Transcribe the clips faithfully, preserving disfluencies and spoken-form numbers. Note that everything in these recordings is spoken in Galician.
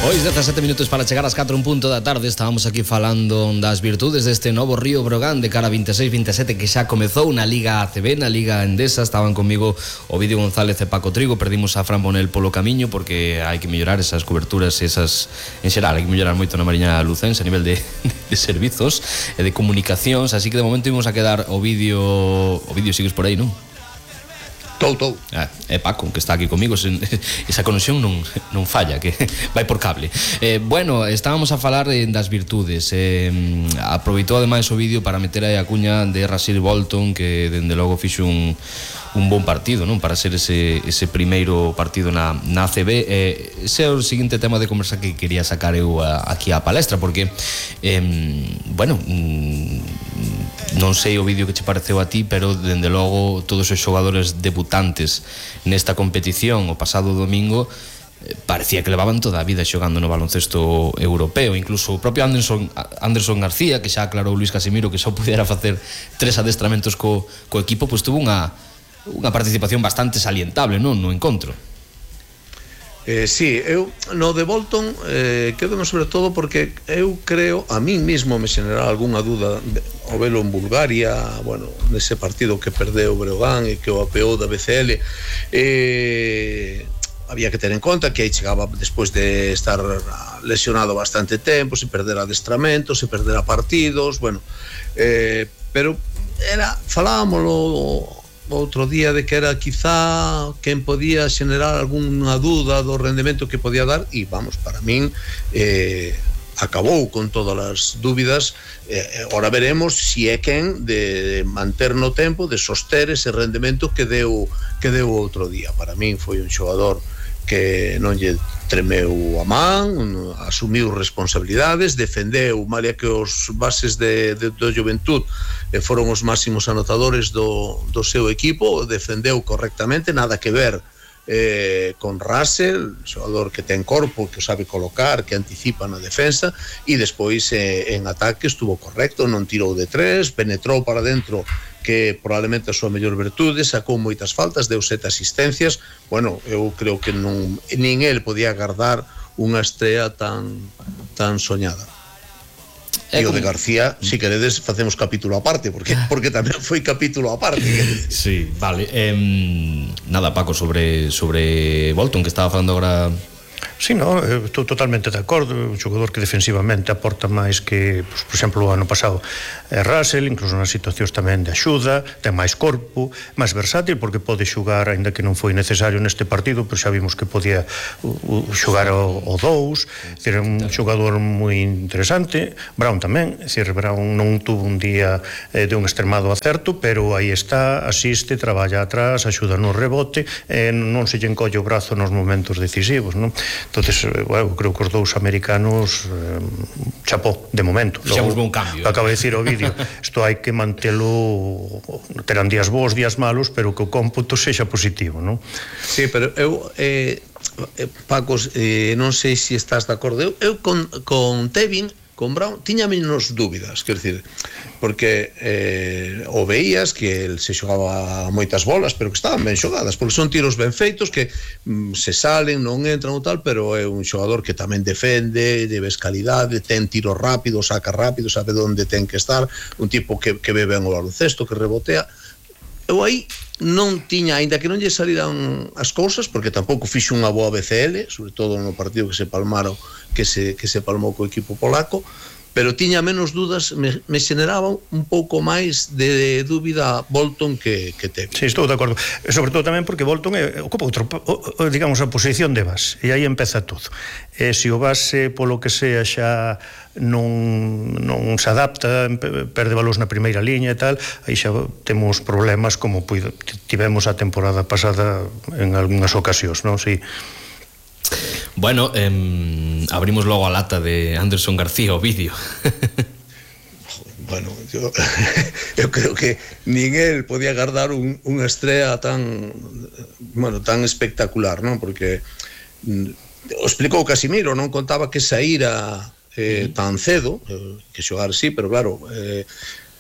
Pois dezasete minutos para chegar ás catro en punto da tarde. Estábamos aquí falando das virtudes deste novo Río Brogan de cara a vinte e seis vinte e sete que xa comezou na Liga A C B, na Liga Endesa. Estaban comigo Ovidio González e Paco Trigo. Perdimos a Fran Bonel polo camiño porque hai que mellorar esas coberturas, esas en xeral, hai que mellorar moito na Mariña Lucense a nivel de, de servizos e de comunicacións, así que de momento imos a quedar Ovidio. Ovidio, sigues por aí, non? Tou, tou. Ah, é Paco, que está aquí comigo. Esa conexión non, non falla, que vai por cable. eh, Bueno, estábamos a falar eh, das virtudes. eh, Aproveitou ademais o vídeo para meter aí a cuña de Rasir Bolton, que dende logo fixo un, un bon partido, non? Para ser ese, ese primeiro partido na, na A C B. eh, Ese é o seguinte tema de conversa que quería sacar eu a, aquí á palestra, porque eh, bueno, non sei o vídeo que che pareceu a ti, pero dende logo todos os xogadores debutantes nesta competición o pasado domingo eh, parecía que levaban toda a vida xogando no baloncesto europeo. Incluso o propio Anderson, Anderson García, que xa aclarou Luis Casimiro que só pudiera facer tres adestramentos co, co equipo, pois tuvo unha, unha participación bastante salientable, non, no encontro. Eh, sí, eu no de Bolton eh, quedo sobre todo porque eu creo, a mí mismo me xenera algunha dúda o velo en Bulgaria, bueno, nese partido que perdeu o Breogán e que o apeou da B C L. eh, había que ter en conta que aí chegaba despois de estar lesionado bastante tempo, se perder adestramentos, se perder a partidos, bueno, eh, pero era, falábamoslo outro día de que era quizá quen podía xenerar algunha dúda do rendemento que podía dar, e vamos, para min eh, acabou con todas as dúbidas. eh, Ora veremos si é quen de manter no tempo, de soster ese rendemento que deu que deu outro día. Para min foi un xogador que non lle tremeu a man, asumiu responsabilidades, defendeu, malia que os bases de, de, do Juventud eh, foron os máximos anotadores do, do seu equipo, defendeu correctamente, nada que ver eh, con Russell, xogador que ten corpo, que o sabe colocar, que anticipa na defensa, e despois eh, en ataque estuvo correcto, non tirou de tres, penetrou para dentro, que probablemente a súa mellor virtude, sacou moitas faltas, deu sete asistencias. Bueno, eu creo que non, nin el podía agardar unha estrela tan tan soñada. E o de García, si queredes, facemos capítulo aparte, porque porque tamén foi capítulo aparte. Sí, vale. Eh, nada, Paco, sobre sobre Bolton, que estaba falando agora. Sí, no, estou totalmente de acordo. Un xogador que defensivamente aporta máis que, pues, por exemplo, o ano pasado eh, Russell, incluso nas situacións tamén de axuda, ten máis corpo, máis versátil, porque pode xogar, aínda que non foi necesario neste partido, pero xa vimos que podía uh, xogar o, o dous. É un xogador moi interesante. Brown tamén, é dicir, Brown non tuvo un día eh, de un extremado acerto, pero aí está, asiste, traballa atrás, axuda no rebote, e eh, non se lle encolle o brazo nos momentos decisivos, non? Entonces, bueno, creo que os dous americanos eh, chapó, de momento. Fixamos un cambio. Acaba de dicir o vídeo, isto hai que mantelo, terán días bons, días malos, pero que o cómputo sexa positivo, non? Sí, pero eu eh, Paco, eh, non sei se estás de acordo. Eu, eu con, con Tevin, con Brown, tiña menos dúbidas, quer dizer, porque eh, o veías que el se xogaba moitas bolas, pero que estaban ben xogadas, porque son tiros ben feitos que mm, se salen, non entran ou tal, pero é un xogador que tamén defende, de calidade, ten tiro rápido, saca rápido, sabe onde ten que estar, un tipo que, que ve ben o baloncesto, que rebotea. Eu aí non tiña, aínda que non lle saliran as cousas, porque tampouco fixo unha boa B C L, sobre todo no partido que se palmaron, que se, que se palmou co equipo polaco, pero tiña menos dúdas, me, me xeneraba un pouco máis de, de dúbida Bolton que, que teve. Sí, estou de acordo. Sobre todo tamén porque Bolton é, ocupa outro, o, digamos, a posición de base, e aí empeza todo. E se o base, polo que sea, xa non, non se adapta, perde valores na primeira liña e tal, aí xa temos problemas como tivemos a temporada pasada en algunhas ocasións, non? Sí. Bueno, eh, abrimos logo a lata de Anderson García o vídeo. Bueno, yo, eu creo que nin el podía agardar un, unha estrela tan, bueno, tan espectacular, non? Porque mm, o explicou Casimiro, non contaba que saíra eh, tan cedo, eh, que xogar sí, pero claro, eh,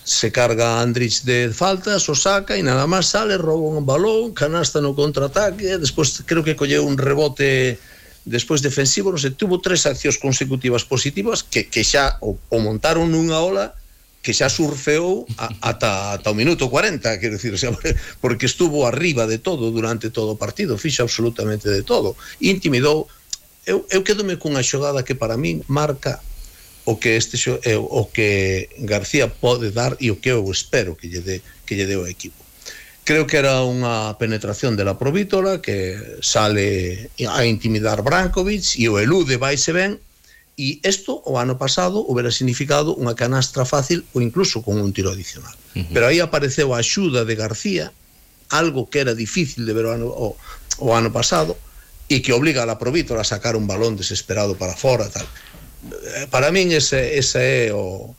se carga Andrich de faltas, o saca e nada máis sale, rouba un balón, canasta no contraataque, despois creo que colleu un rebote despois defensivo, non sei, tuvo tres accións consecutivas positivas que, que xa o, o montaron nunha ola que xa surfeou a, ata, ata o minuto cuarenta, quero dicir, o sea, porque estuvo arriba de todo durante todo o partido, fixo absolutamente de todo, intimidou. Eu, eu quedome cunha xogada que para min marca o que este xo, eh, o que García pode dar e o que eu espero que lle dé, que lle dé o equipo. Creo que era unha penetración de la Provítola que sale a intimidar Brankovic e o elude, vaise ben. E isto o ano pasado hubiera significado unha canastra fácil ou incluso con un tiro adicional. Uh-huh. Pero aí apareceu a axuda de García, algo que era difícil de ver o ano, o, o ano pasado, e que obliga a la Provítola a sacar un balón desesperado para fora, tal. Para min ese, ese é o,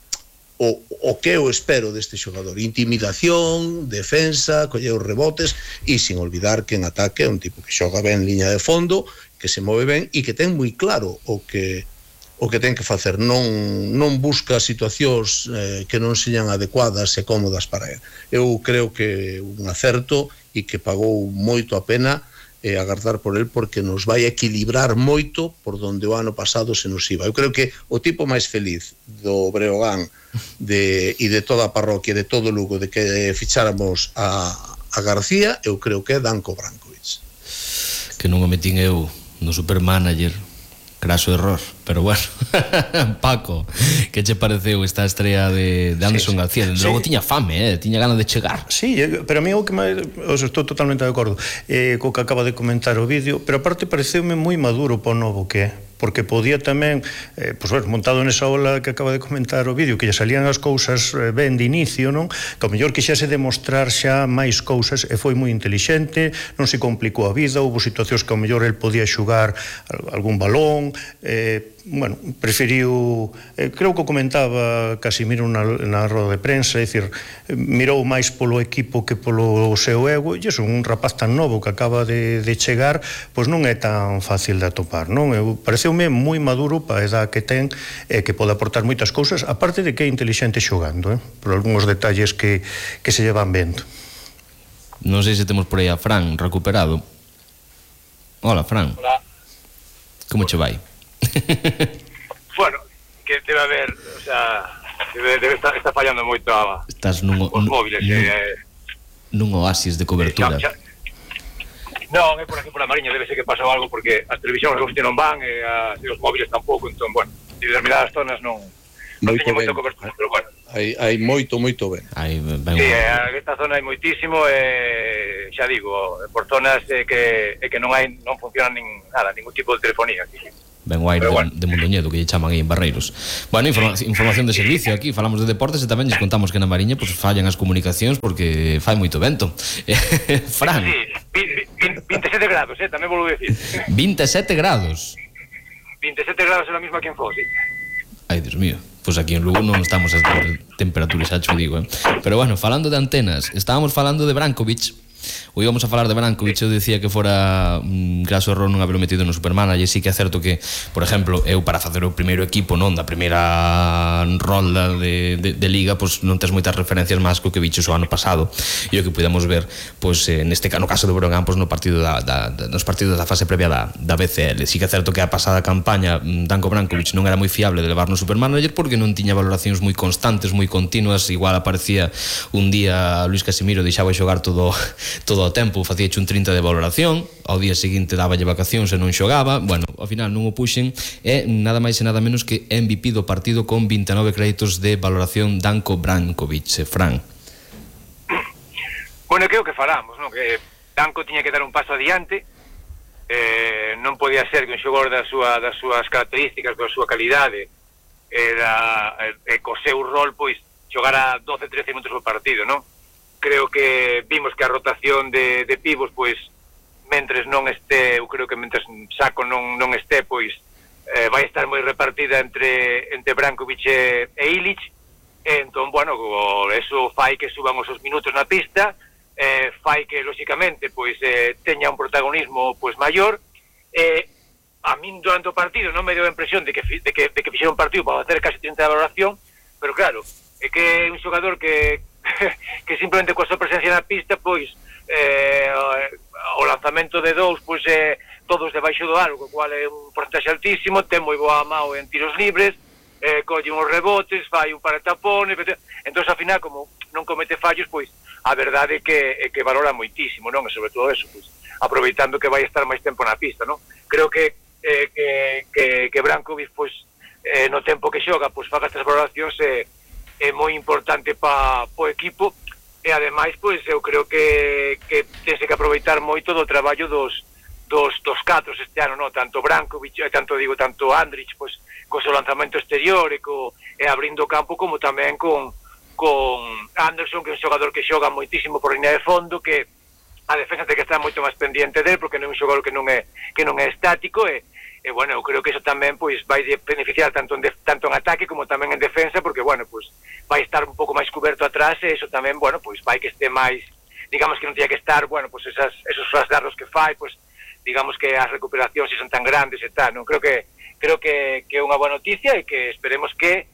o, o que eu espero deste xogador. Intimidación, defensa, coller os rebotes, e sin olvidar que en ataque é un tipo que xoga ben en liña de fondo, que se move ben e que ten moi claro o que o que ten que facer, non, non busca situacións eh, que non señan adecuadas e cómodas para ele. Eu creo que un acerto e que pagou moito a pena eh, agardar por el, porque nos vai equilibrar moito por donde o ano pasado se nos iba. Eu creo que o tipo máis feliz do Breogán de, e de toda a parroquia, de todo o Lugo, de que ficháramos a, a García, eu creo que é Danko Brankovic. Que non o metín eu no Supermanager, craso error, pero bueno. Paco, que che pareceu esta estrella de, de Anderson sí, García? Sí. Logo tiña fame, eh? Tiña ganas de chegar. Sí, pero a mí o que máis, estou totalmente de acordo eh, co que acaba de comentar o vídeo, pero aparte pareceume moi maduro para o novo que é, porque podía tamén, eh, pues, bueno, montado nesa ola que acaba de comentar o vídeo, que lle salían as cousas eh, ben de inicio, non? Que ao mellor quixese demostrar xa máis cousas, e foi moi intelixente, non se complicou a vida, houve situacións que ao mellor el podía xugar algún balón, eh, bueno, preferiu, eh, creo que o comentaba Casimiro na, na roda de prensa, é dicir, mirou máis polo equipo que polo seu ego, e iso, un rapaz tan novo que acaba de, de chegar, pois non é tan fácil de atopar, non? Eu, pareceume moi maduro para a edad que ten, e que pode aportar moitas cousas, aparte de que é intelixente xogando, eh? Por algúns detalles que, que se llevan vendo. Non sei se temos por aí a Fran recuperado. Hola, Fran. Hola. Como che vai? Bueno, que debe haber, o sea, debe, debe estar, está fallando moito a, Estás nun, os móviles. Nun, eh, nun oasis de cobertura. Eh, xa, xa. Non, é por aquí por a Mariña, debe ser que pasou algo, porque as televisións non van, e, as, e os móviles tampouco, entón, bueno, en determinadas zonas non, non teñen moita cobertura, pero bueno. Hai, hai moito, moito ben. Hai, ben sí, en esta zona hai moitísimo, e xa digo, por zonas eh, que, eh, que non hai, non funciona nin nada, ningún tipo de telefonía aquí. Ben o aire bueno. de, de Mondoñedo, que lle chaman aí en Barreiros. Bueno, informa, información de servicio aquí, falamos de deportes e tamén lles contamos que na Mariña pues, fallan as comunicacións porque fai moito vento. Fran. Sí, vinte e sete grados, eh, tamén volvo a decir. vinte e sete grados. vinte e sete grados é a mesma que en Foz, sí. Ai, Dios mío. Pois pues aquí en Lugo non estamos a temperaturas, xa cho digo, eh. Pero bueno, falando de antenas, estábamos falando de Brankovic. Ou íbamos a falar de Brankovic, eu dicía que fora un graso error non haberlo metido no Supermanager, e sí que é certo que, por exemplo, eu para facer o primeiro equipo, non, da primeira rolda de, de, de liga, pois non tes moitas referencias máis que o que bichos o ano pasado, e o que pudemos ver, pois, eh, neste no caso do Breogán, pois no partido da, da, da, nos partidos da fase previa da, da B C L. Sí que é certo que a pasada campaña Danko Brankovic non era moi fiable de levar no Supermanager porque non tiña valoracións moi constantes, moi continuas, igual aparecía un día Luis Casimiro, deixaba xogar todo todo o tempo, facíache un trinta de valoración, ao día seguinte dáballe vacacións e non xogaba, bueno, ao final non o puxen, e nada máis e nada menos que M V P do partido con vinte e nove créditos de valoración Danko Brankovic. Fran. Bueno, que é o que falamos, non? Que Danko tiña que dar un paso adiante, eh, non podía ser que un xogador da súa, das súas características, da súa calidade, era, e, e co seu rol, pois, xogara doce trece minutos por partido, non? Creo que vimos que a rotación de, de pivos, pois, mentres non este, eu creo que mentres Saco non, non este, pois, eh, vai estar moi repartida entre, entre Brankovic e, e Ilic, e entón, bueno, eso fai que suban os minutos na pista, eh, fai que, lóxicamente, pois, eh, teña un protagonismo, pois, maior, e a min durante o partido non me deu a impresión de que, de que, de que fixera un partido para facer casi trinta de valoración, pero claro, é que é un xogador que que simplemente coa súa presencia na pista, pois, eh, o lanzamento de dous, pois é todos debaixo do aro, o cual é un porcentaxe altísimo, ten moi boa mao en tiros libres, eh, colle uns rebotes, fai un par de tapones, entón, ao final, como non comete fallos, pois, a verdade é que, é que valora moitísimo, non? E sobre todo eso, pois, aproveitando que vai estar máis tempo na pista, non? Creo que, eh, que, que, que Brankovic, pois, eh, no tempo que xoga, pois, faga estas valoracións, é, é moi importante pa, po equipo, e ademais, pois, eu creo que, que tense que aproveitar moito do traballo dos, dos, dos catros este ano, no? Tanto Brankovic, eh, tanto digo, tanto Andrich, pois, co seu lanzamento exterior e, co, e abrindo o campo, como tamén con, con Anderson, que é un xogador que xoga moitísimo por línea de fondo, que a defensa ten que estar moito máis pendiente del, porque non é un xogador que non é, que non é estático, e, e bueno, eu creo que eso tamén, pois, vai beneficiar tanto en, de, tanto en ataque como tamén en defensa, porque, bueno, pois, vai estar un pouco máis cuberto atrás, e eso tamén, bueno, pois, vai que este máis, digamos que non tiña que estar, bueno, pois, esas, esos rasgarros que fai, pois, digamos que as recuperacións se son tan grandes e tal, non? Creo que creo que, que é unha boa noticia e que esperemos que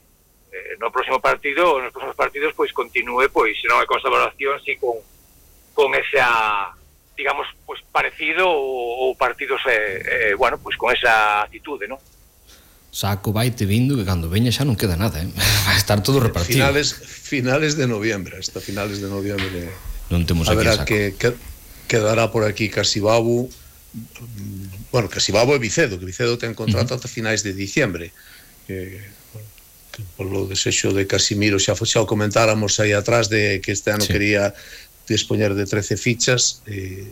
eh, no próximo partido, nos próximos partidos, pois, continúe, pois, se non é con esa valoración, si con, con esa, digamos, pois, parecido ou, ou partidos, eh, eh, bueno, pois, con esa actitude, non? Saco vaite vindo que cando veña xa non queda nada, eh? Vai estar todo repartido. Finales, finales de noviembre, hasta finales de noviembre. Non temos a aquí verá a Saco. que, que quedará por aquí Casibabu, bueno, Casibabu e Vicedo, que Vicedo ten contrato uh -huh. ata finais de diciembre. Que, bueno, que polo desexo de Casimiro xa, xa o comentáramos aí atrás de que este ano sí. quería dispoñer de trece fichas, eh,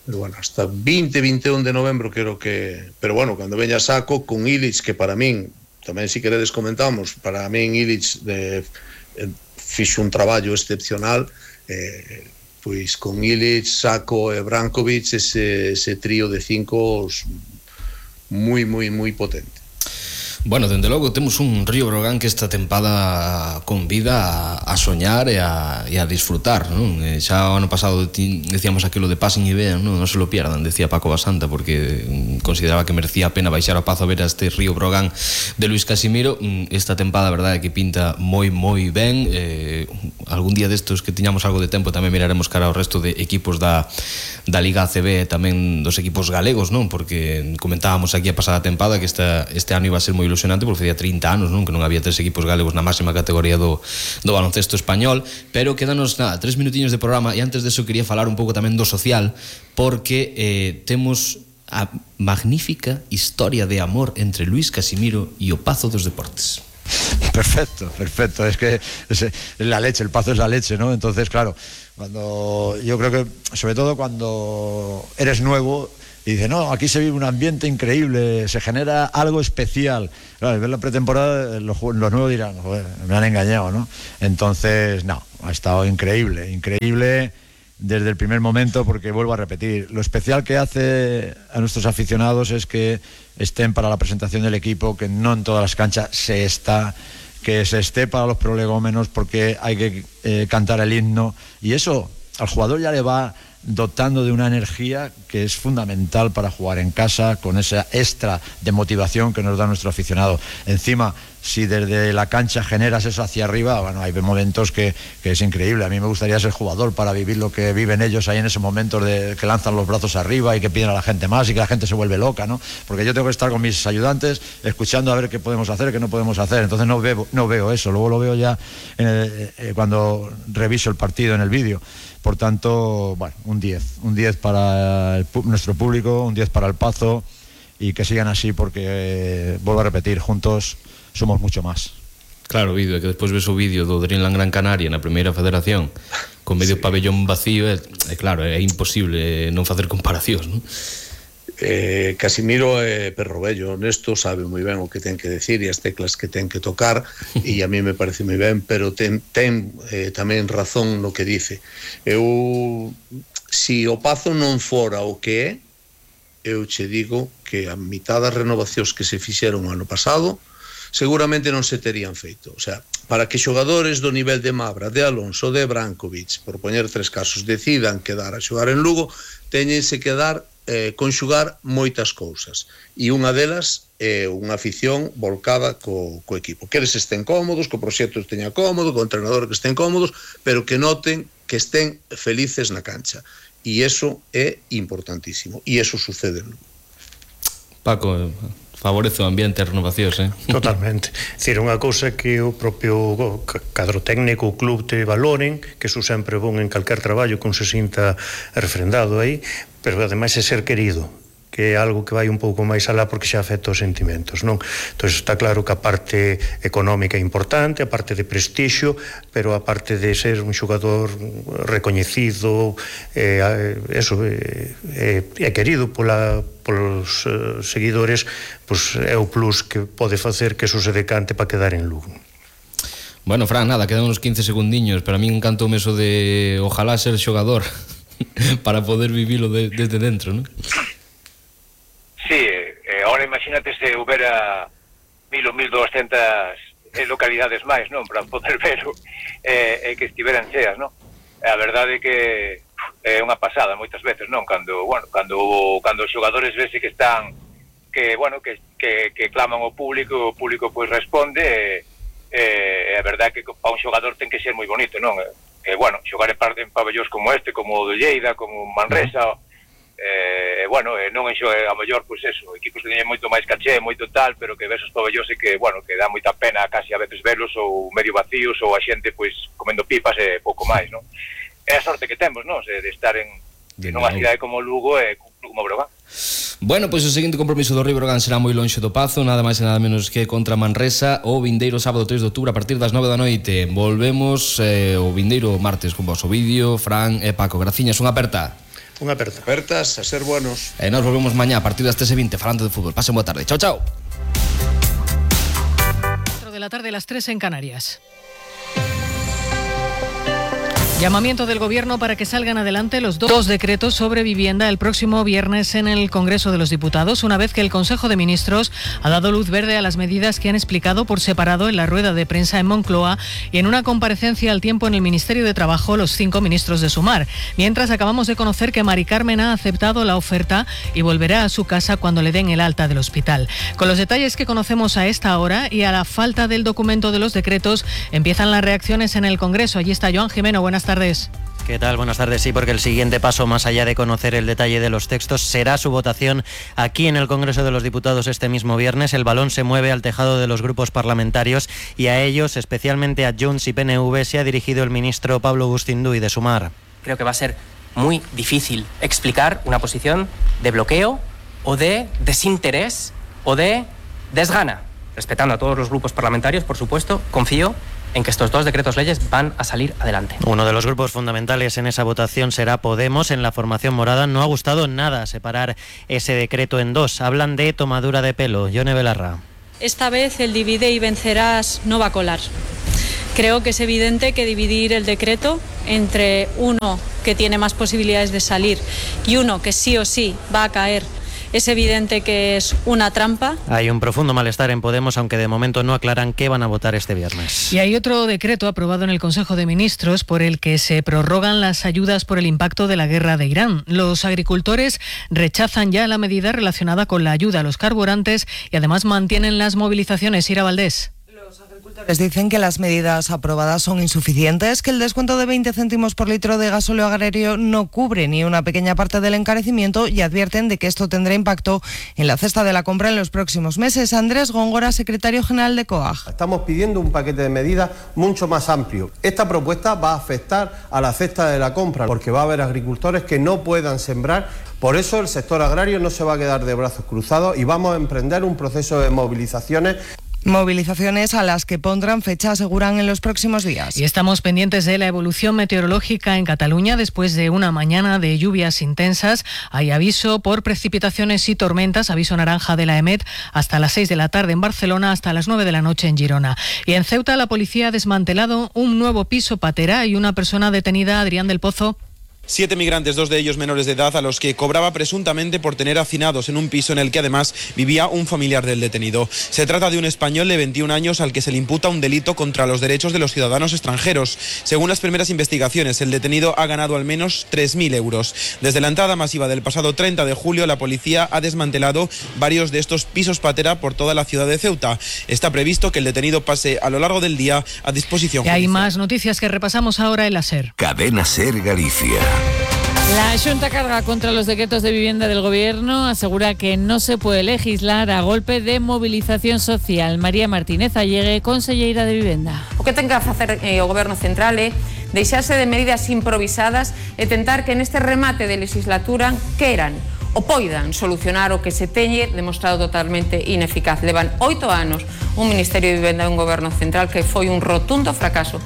pero bueno, hasta veinte, vinte e un de novembro creo que, pero bueno, cando veña Saco con Ilic, que para min tamén si queredes comentamos, para min Ilic de, eh, fixo un traballo excepcional, eh, pois con Ilic, Saco e Brankovic, ese, ese trío de cinco moi, moi, moi potente. Bueno, dende logo temos un Río Breogán que esta tempada convida a, a soñar e a, e a disfrutar, non? E xa o ano pasado decíamos aquilo de pasen e vean, non? Non se lo pierdan, decía Paco Basanta, porque consideraba que merecía a pena baixar a Pazo a ver a este Río Breogán de Luis Casimiro. Esta tempada, a verdade, que pinta moi, moi ben. Eh, algún día destos que tiñamos algo de tempo tamén miraremos cara ao resto de equipos da, da Liga A C B e tamén dos equipos galegos, non? Porque comentábamos aquí a pasada tempada que esta, este ano iba a ser moi ilusionante porque facía trinta anos, non? Que non había tres equipos galegos na máxima categoría do, do baloncesto español, pero quédanos, nada, tres minutiños de programa, e antes deso quería falar un pouco tamén do social, porque eh, temos a magnífica historia de amor entre Luis Casimiro e o Pazo dos Deportes. Perfecto, perfecto, es que es la leche, el Pazo es la leche, ¿no? Entonces, claro, cuando yo creo que, sobre todo cuando eres nuevo y dice, no, aquí se vive un ambiente increíble, se genera algo especial. Claro, al ver la pretemporada, los, los nuevos dirán, joder, me han engañado, ¿no? Entonces, no, ha estado increíble, increíble desde el primer momento, porque vuelvo a repetir, lo especial que hace a nuestros aficionados es que estén para la presentación del equipo, que no en todas las canchas se está, que se esté para los prolegómenos porque hay que eh, cantar el himno, y eso al jugador ya le va dotando de una energía que es fundamental para jugar en casa, con esa extra de motivación que nos da nuestro aficionado. Encima, si desde la cancha generas eso hacia arriba, bueno, hay momentos que, que es increíble. A mí me gustaría ser jugador para vivir lo que viven ellos ahí en esos momentos de que lanzan los brazos arriba y que piden a la gente más y que la gente se vuelve loca, ¿no? Porque yo tengo que estar con mis ayudantes escuchando a ver qué podemos hacer, qué no podemos hacer. Entonces no veo, no veo eso, luego lo veo ya en el, eh, cuando reviso el partido en el vídeo. Por tanto, bueno, un diez, un diez para el, nuestro público, un diez para el Pazo, y que sigan así porque, eh, vuelvo a repetir, juntos somos mucho más. Claro, vídeo, que despois ves o vídeo do Dreamland Gran Canaria na primeira federación con medio sí. pabellón vacío, é, é claro, é imposible non facer comparacións, non? Eh, Casimiro é perro vello, honesto, sabe moi ben o que ten que decir e as teclas que ten que tocar, e a mí me parece moi ben, pero ten, ten eh, tamén razón no que dice. Eu, si o Pazo non fora o que é, eu che digo que a mitad das renovacións que se fixeron o ano pasado seguramente non se terían feito. O sea, para que xogadores do nivel de Mabra, de Alonso, de Brankovic, por poñer tres casos, decidan quedar a xogar en Lugo, teñense que dar eh, conxugar moitas cousas, e unha delas é unha afición volcada co, co equipo, que eles estén cómodos, que o proxecto esteña cómodo, que o entrenador que estén cómodos, pero que noten que estén felices na cancha, e eso é importantísimo, e eso sucede. Paco, favorece o ambiente e renovacións, eh? Totalmente. Dicir, unha cousa que o propio cadro técnico, o club te valoren, que iso sempre bon en calquer traballo que un se sinta refrendado aí, pero ademais é ser querido, que é algo que vai un pouco máis alá porque xa afecta os sentimentos, non? Entón está claro que a parte económica é importante, a parte de prestixio, pero a parte de ser un xogador recoñecido, eh, eso, é eh, eh, querido pola, polos eh, seguidores, pues é o plus que pode facer que eso se decante para quedar en Lugo. Bueno, Fran, nada, quedan uns quince segundiños, pero a mí encantou eso de ojalá ser xogador para poder vivilo de, desde dentro, non? Sí, eh, ahora imagínate se houbera mil ou mil doscientas eh, localidades máis, non? Para poder verlo e eh, que estiveran cheas, non? A verdade é que é unha pasada moitas veces, non? Cando, bueno, cando, cando os xogadores vese que están que, bueno, que, que, que claman ao público, o público pois responde e eh, a verdade é que para un xogador ten que ser moi bonito, non? E, eh, bueno, xogar en, en pabellóns como este, como o de Lleida, como Manresa, eh, bueno, eh, non enxo, eh, a mellor, pois eso, equipos que teñen moito máis caché, moito tal, pero que ves os pabellóns e que, bueno, que dá moita pena casi a veces velos ou medio vacíos ou a xente, pois, comendo pipas e pouco máis, non? É a sorte que temos, non? De estar en, en unha cidade como Lugo e como Breogán. Bueno, pois o seguinte compromiso do Río Breogán será moi lonxe do Pazo, nada máis e nada menos que contra Manresa o vindeiro sábado tres de outubro a partir das nove da noite. Volvemos eh, o vindeiro martes con vos o vídeo, Fran e Paco. Graciñas, unha aperta. Unha aperta. Apertas, a ser buenos. E nos volvemos mañá a partir das tres e vinte falando de fútbol. Pasen boa tarde. Chao, chao. cuatro de la tarde, las tres en Canarias. Llamamiento del Gobierno para que salgan adelante los dos decretos sobre vivienda el próximo viernes en el Congreso de los Diputados, una vez que el Consejo de Ministros ha dado luz verde a las medidas que han explicado por separado en la rueda de prensa en Moncloa y en una comparecencia al tiempo en el Ministerio de Trabajo los cinco ministros de Sumar. Mientras, acabamos de conocer que Mari Carmen ha aceptado la oferta y volverá a su casa cuando le den el alta del hospital. Con los detalles que conocemos a esta hora y a la falta del documento de los decretos, empiezan las reacciones en el Congreso. Allí está Joan Jimeno. Buenas tardes. ¿Qué tal? Buenas tardes. Sí, porque el siguiente paso, más allá de conocer el detalle de los textos, será su votación aquí en el Congreso de los Diputados este mismo viernes. El balón se mueve al tejado de los grupos parlamentarios y a ellos, especialmente a Junts y P N V, se ha dirigido el ministro Pablo Gustinduy de Sumar. Creo que va a ser muy difícil explicar una posición de bloqueo o de desinterés o de desgana. Respetando a todos los grupos parlamentarios, por supuesto, confío en que estos dos decretos leyes van a salir adelante. Uno de los grupos fundamentales en esa votación será Podemos. En la formación morada no ha gustado nada separar ese decreto en dos. Hablan de tomadura de pelo. Yone Belarra. Esta vez el divide y vencerás no va a colar. Creo que es evidente que dividir el decreto entre uno que tiene más posibilidades de salir y uno que sí o sí va a caer, es evidente que es una trampa. Hay un profundo malestar en Podemos, aunque de momento no aclaran qué van a votar este viernes. Y hay otro decreto aprobado en el Consejo de Ministros por el que se prorrogan las ayudas por el impacto de la guerra de Irán. Los agricultores rechazan ya la medida relacionada con la ayuda a los carburantes y además mantienen las movilizaciones. Ira Valdés. Les dicen que las medidas aprobadas son insuficientes, que el descuento de veinte céntimos por litro de gasóleo agrario no cubre ni una pequeña parte del encarecimiento y advierten de que esto tendrá impacto en la cesta de la compra en los próximos meses. Andrés Góngora, secretario general de COAG. Estamos pidiendo un paquete de medidas mucho más amplio. Esta propuesta va a afectar a la cesta de la compra porque va a haber agricultores que no puedan sembrar. Por eso el sector agrario no se va a quedar de brazos cruzados y vamos a emprender un proceso de movilizaciones. Movilizaciones a las que pondrán fecha, aseguran, en los próximos días. Y estamos pendientes de la evolución meteorológica en Cataluña. Después de una mañana de lluvias intensas, hay aviso por precipitaciones y tormentas, aviso naranja de la EMET hasta las seis de la tarde en Barcelona, hasta las nueve de la noche en Girona. Y en Ceuta la policía ha desmantelado un nuevo piso patera y una persona detenida, Adrián del Pozo. Siete migrantes, dos de ellos menores de edad, a los que cobraba presuntamente por tener hacinados en un piso en el que además vivía un familiar del detenido. Se trata de un español de veintiún años al que se le imputa un delito contra los derechos de los ciudadanos extranjeros. Según las primeras investigaciones, el detenido ha ganado al menos tres mil euros. Desde la entrada masiva del pasado treinta de julio, la policía ha desmantelado varios de estos pisos patera por toda la ciudad de Ceuta. Está previsto que el detenido pase a lo largo del día a disposición judicial. Y hay más noticias que repasamos ahora en la SER. Cadena SER Galicia. La Xunta carga contra los decretos de vivienda del Gobierno, asegura que no se puede legislar a golpe de movilización social. María Martínez Allegue, conselleira de Vivenda. O que ten que facer eh, o Goberno Central é deixarse de medidas improvisadas e tentar que neste remate de legislatura queran o poidan solucionar o que se teñe demostrado totalmente ineficaz. Levan oito anos un Ministerio de Vivenda e un Goberno Central que foi un rotundo fracaso.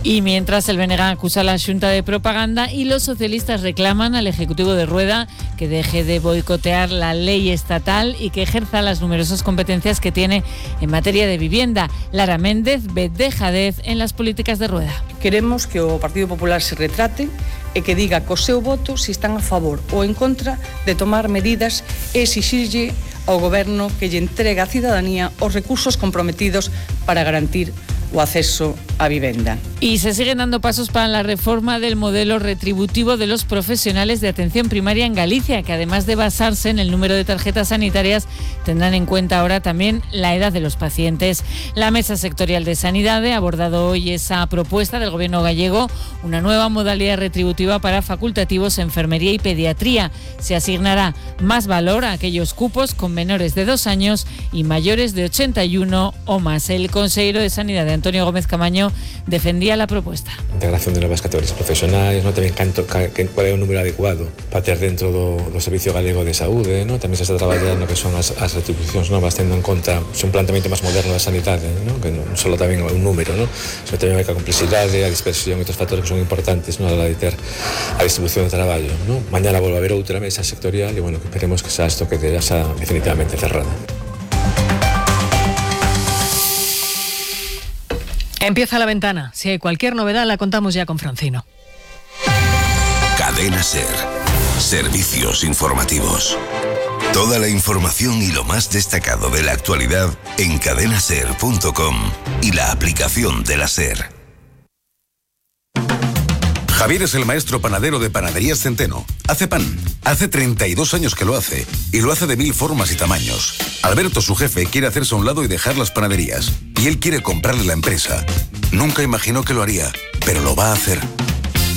Y mientras el B N G acusa a la Xunta de propaganda y los socialistas reclaman al Ejecutivo de Rueda que deje de boicotear la ley estatal y que ejerza las numerosas competencias que tiene en materia de vivienda. Lara Méndez ve dejadez en las políticas de Rueda. Queremos que o Partido Popular se retrate e que diga co seu voto se están a favor ou en contra de tomar medidas e exixirlle ao Goberno que lle entregue á cidadanía os recursos comprometidos para garantir o acceso a vivenda. Y se siguen dando pasos para la reforma del modelo retributivo de los profesionales de atención primaria en Galicia, que además de basarse en el número de tarjetas sanitarias, tendrán en cuenta ahora también la edad de los pacientes. La Mesa Sectorial de Sanidad ha abordado hoy esa propuesta del Gobierno gallego, una nueva modalidad retributiva para facultativos, enfermería y pediatría. Se asignará más valor a aquellos cupos con menores de dos años y mayores de ochenta y uno o más. El consejero de Sanidad, Antonio Gómez Camaño, defendía la propuesta. Integración de novas categorías profesionais, non tamén canto que qual é o número adecuado para ter dentro do, do Servicio Galego de Saúde, non? Tamén se está traballando que son as, as retribucións novas, tendo en conta un planteamento máis moderno da sanidade, non? Que non só tamén un número, non? Sino tamén a complexidade, a dispersión e outros factores que son importantes, non? A la de ter a distribución do traballo, non? Mañana volve a haber outra mesa sectorial e, bueno, que esperemos que xa isto que ya xa definitivamente cerrada. Empieza La Ventana. Si hay cualquier novedad, la contamos ya con Francino. Cadena SER. Servicios informativos. Toda la información y lo más destacado de la actualidad en cadena ser punto com y la aplicación de la SER. Javier es el maestro panadero de Panaderías Centeno. Hace pan. Hace treinta y dos años que lo hace. Y lo hace de mil formas y tamaños. Alberto, su jefe, quiere hacerse a un lado y dejar las panaderías. Y él quiere comprarle la empresa. Nunca imaginó que lo haría, pero lo va a hacer.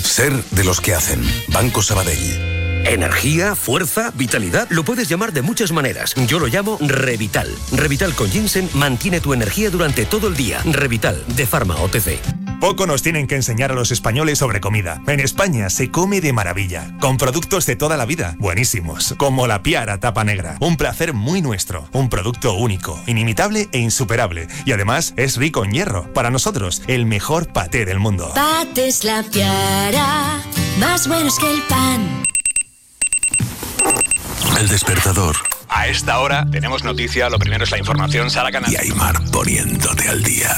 Ser de los que hacen. Banco Sabadell. Energía, fuerza, vitalidad, lo puedes llamar de muchas maneras. Yo lo llamo Revital. Revital con ginseng mantiene tu energía durante todo el día. Revital, de Pharma O T C. Poco nos tienen que enseñar a los españoles sobre comida. En España se come de maravilla, con productos de toda la vida, buenísimos, como la Piara tapa negra. Un placer muy nuestro, un producto único, inimitable e insuperable. Y además es rico en hierro. Para nosotros, el mejor paté del mundo. Patés La Piara, más buenos que el pan. El despertador. A esta hora tenemos noticia, lo primero es la información, Sara Canal. Y Aymar poniéndote al día.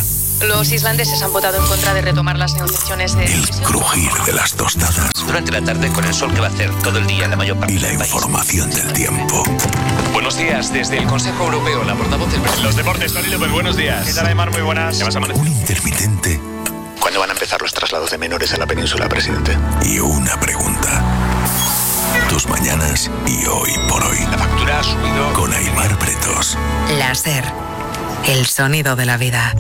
Los islandeses han votado en contra de retomar las negociaciones de... El crujir de las tostadas. Durante la tarde con el sol que va a hacer todo el día en la mayor parte y la del país. Información del tiempo. Buenos días, desde el Consejo Europeo, la portavoz del presidente. Los deportes, Tony López, buenos días. ¿Qué tal, Aymar? Muy buenas. Un intermitente. ¿Cuándo van a empezar los traslados de menores a la península, presidente? Y una pregunta. Tus mañanas y hoy por hoy. La factura ha subido. Con Aymar Pretos. La SER. El sonido de la vida.